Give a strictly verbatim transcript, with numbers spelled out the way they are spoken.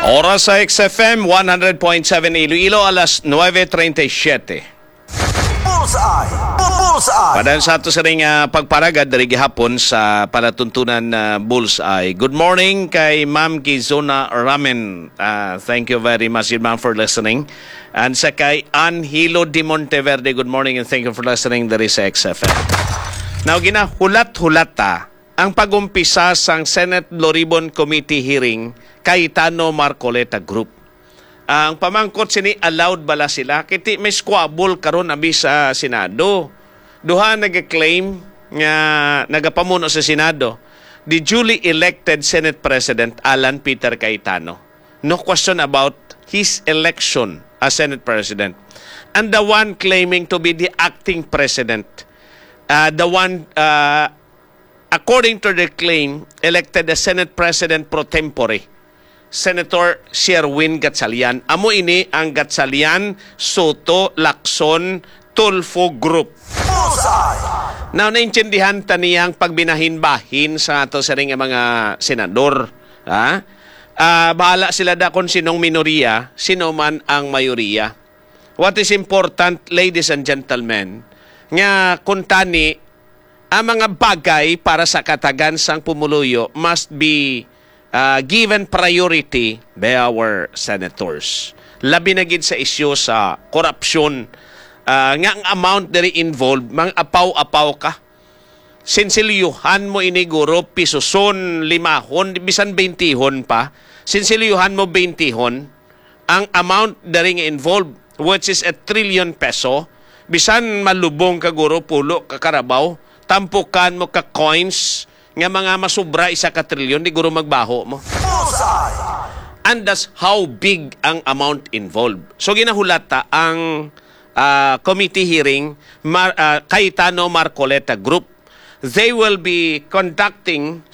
Oras sa X F M one hundred point seven Iloilo, alas nuebe treinta y siete. Bullseye! Bullseye! Padayon sa ato sining, ah, pagparagad diri gihapon sa palatuntunan, ah, Bullseye. Good morning kay Ma'am Gizona Ramen. Ah, thank you very much, ma'am, for listening. And sa kay Angelo de Monteverde, good morning and thank you for listening diri sa X F M. Now, ginahulat-hulat ta ang pag-umpisa sang Senate Blue Ribbon Committee hearing kay Tano Marcoleta Group. Ang pamangkot sini, allowed bala sila? Kiti may squabble karon abi sa Senado. Duha nag-claim nga nagapamuno sa Senado, the duly elected Senate President Alan Peter Cayetano. No question about his election as Senate President. And the one claiming to be the acting president, uh, the one, uh, according to their claim, elected the Senate President pro tempore, Senator Sherwin Gatchalian. Amo ini ang Gatchalian, Soto, Lacson, Tulfo Group. Bullseye! Now, naintindihan ta niya ang pagbinahin-bahin sa ato sining nga mga senador. Ha? Ah, bahala sila da kung sinong minoriya, sino man ang mayoriya. What is important, ladies and gentlemen, nga kuntani ang mga bagay para sa katagan sang pumuluyo must be, ah, given priority by our senators. Labi na gid sa isyu sa korupsyon, ah, nga ang amount diri involved, mang apaw-apaw ka. Sinsilyohan mo ini, guro, pisuson, limahon, bisan bentihon pa. Sinsilyohan mo bentihon ang amount diri nga involved, which is a trillion peso. Bisan malubong ka, guro, pulo ka karabaw, tampukan mo ka coins nga mga masubra isa ka trilyon, di guro magbaho mo. Bullseye! And that's how big ang amount involved. So, ginahulata ang, ah, committee hearing, Mar-, ah, Cayetano Marcoleta Group. They will be conducting